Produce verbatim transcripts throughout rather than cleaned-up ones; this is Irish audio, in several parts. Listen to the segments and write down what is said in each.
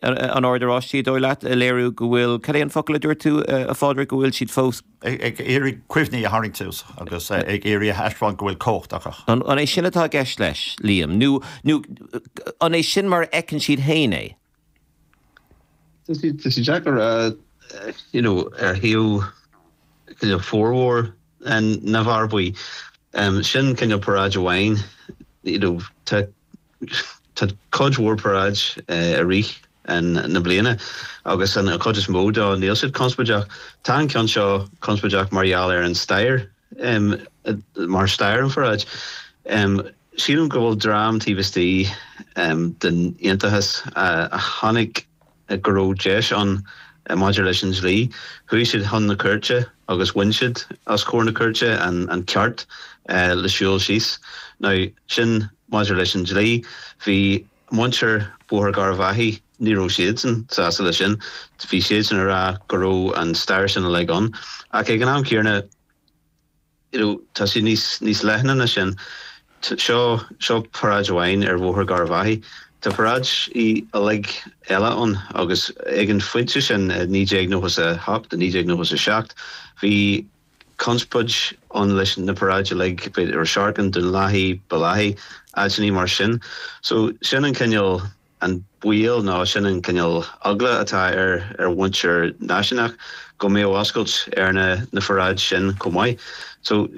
an Ord Oráisteach, dóigh leat, a léiriú go bhfuil, cad é an focal a dúirt tú, a Phádraig, go bhfuil siad fós. Ag iarraidh cuimhní a tharraingt suas agus ag iarraidh a thaispeáint go bhfuil cumhacht acu. An é sin atá i gceist leis, Liam, nó nó an é sin mar a fheiceann siad féin é? Tá sé deacair a you know ar thaobh cineál formhór na bhfear buí. Sin cineál paráid amháin you know tá tá cuid mhór paráid i rith na bliana agus an chuid is mó dó níl siad conspóideach. Tá an ceann seo conspóideach mar gheall ar an stair um, mar stair an pharáid. Um, sílim go bhfuil dream taobh istigh um, den aontachas uh, a chonaic go raibh deis ann maidir leis an dlí. Chuaigh siad chun na cúirte agus bhain siad os comhair na cúirte an, an ceart uh, le siúl síos. Now sin maidir leis an dlí bhí muintir Bhóthar Gharbhachaidh ní raibh siadsan sásta leis sin, bhí siadsan ag rá go raibh an stair sin uilig ann. Ach ag an am céanna you know, tá sé níos níos leithne ná sin seo seo paráid amháin ar Bhóthar Gharbhachaidh. Tá paráid í uilig eile ann agus ag an phointe sin naoi déag nócha a hocht naoi déag nócha a seacht bhí conspóid ann leis na paráid uilig ar Sharkin Dún Lathaí Bellaghy áiteanna mar sin. So sin an cineál an baol ná sin an cineál eagla atá ar ar mhuintir náisiúnach go mbeadh oscailt ar na na paráid sin chomh maith. So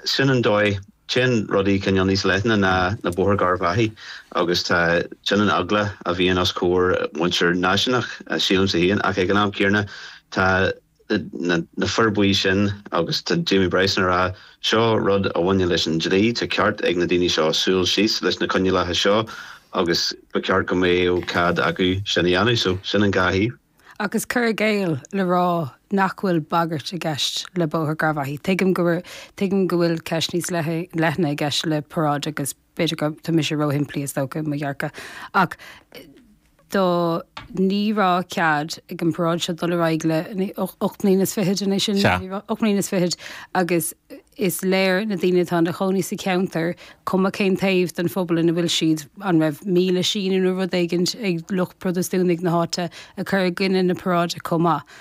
sin an dóigh téann rudaí cineál níos leithne ná na Bóthar Gharbhachaidh agus tá sin an eagla a bhíonn os comhair muintir náisiúnach sílimse féin ach ag an am céanna tá na, na fir bhuí sin agus tá Jamie Bryson ag rá seo rud a bhaineann leis an dlí tá ceart ag na daoine seo siúl síos leis na coinníollacha seo agus ba cheart go mbeadh cead acu sin a dhéanamh so sin an dhá thaobh. Agus cur i gcéill le rá nach bhfuil bagairt i gceist le Bóthar Gharbhachaidh. Tuigim go tuigim go bhfuil ceist níos leithne i gceist le paráid agus b'fhéidir go tá mise róshimplí is dócha mo dhearcadh. Ach do ní raibh cead ag an paráid seo dul ar aghaidh le ocht mbliana is fiche é sin ocht mbliana is fiche agus is léir na daoine atá ina gcónaí sa cheantar cuma cén taobh den phobal ina bhfuil siad an raibh míle síniú nó rud éigin ag lucht Protastúnaigh na háite a chur i gcoinne na paráide chomh maith.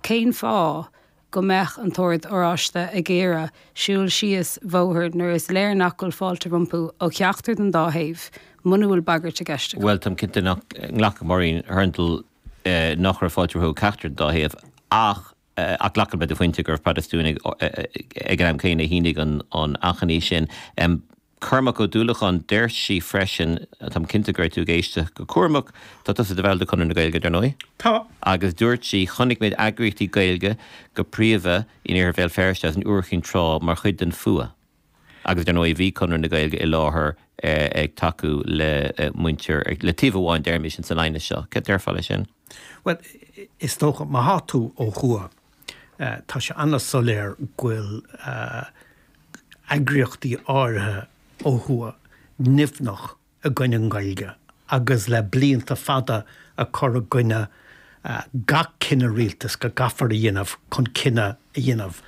Cén fáth go mbeadh an tOrd Oráiste ag iarraidh siúl síos bóthar nuair is léir nach bhfuil fáilte rompu ó cheachtar den dá thaobh, muna bhfuil bagairt i gceist. Well táim cinnte nach nglacfaidh Maureen Hurndall eh, nach raibh fáilte rompu ó cheachtar den dá thaobh ach eh, ach glacaim le do phointe gur Protastúnaigh ag an am céanna a shínigh an an achainí sin. Um, Cormac Ó Dúlacháin deir sí freisin táim cinnte go raibh tú ag éisteacht go cúramach tá tusa i do bhall de Chonradh na Gaeilge dar ndóigh. Tá. Agus dúirt sí chonaic muid eagraíochtaí Gaeilge go príomha in Iarthar Bhéal Feirste as an Iúr Chinn Trá mar chuid den fuath. Agus dar ndóigh bhí Conradh na Gaeilge i láthair eh, ag tacú le eh, muintir le taobh amháin deirmis san aighneas seo. Cad déarfá le sin? Well is dócha má tá tú ó thuaidh eh, tá sé an-soiléir go bhfuil eagraíochtaí áirithe ó thuaidh nimhneach i gcoinne an Ghaeilge agus le blianta fada a chur i gcoinne uh, gach cinneadh rialtais go gcaithfear a dhéanamh chun cinneadh a dhéanamh.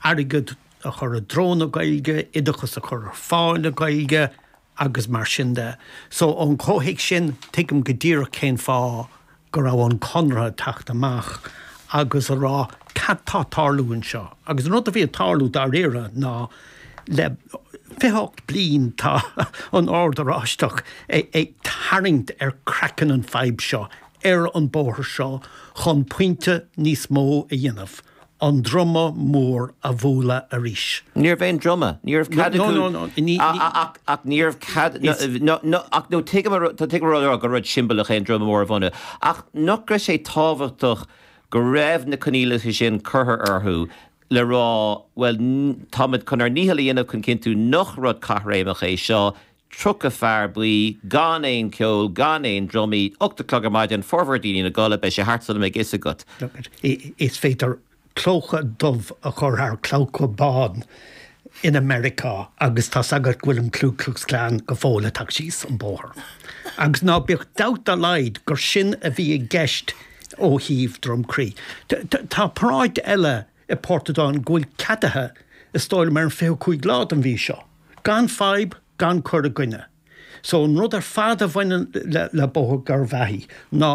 Airgead a chur i dtreo na Gaeilge, oideachas a chur ar fáil na Gaeilge agus mar sin de. So ón chomhthéacs sin tuigim go díreach cén fáth go raibh an Conradh ag teacht amach agus a rá cad tá ag tarlú anseo. Agus an rud a bhí ag tarlú dáiríre ná le fiche ocht bliain tá an Ord Oráisteach ag tarraingt ar craiceann an fadhb seo ar an bóthar seo chun pointe níos mó a dhéanamh. An druma mór a bhualadh arís. Ní raibh aon druma, ní raibh cead ach ní raibh cead ach nó tuigim rá gur rud siombalach é an druma mór a bhunú. Ach nach raibh sé tábhachtach go raibh na coinníollacha sin curtha orthu le rá well táimid chun ár ndícheall a dhéanamh chun cinntiú nach rud caithréimeach é seo, tríocha fear buí gan aon ceol gan aon drumaí, ocht a chlog ar maidin formhór daoine ina gcodladh beidh sé thart sula mbeidh fhios agat. Is féidir clóca dubh a chur thar clóca bán in America agus tá agat go bhfuil an Ku Klux Klan go fóill ag teacht síos an bóthar. Agus ná bíodh dabht dá laghad gur sin a bhí i gceist ó thaobh Drumcree. Tá paráid eile i Portadown go bhfuil ceadaithe is dóigh liom ar an fiche cúig lá den mhí seo. Gan fadhb, gan cur i gcoinne. So an rud ar fad a bhaineann le, le Bóthar Gharbhachaidh ná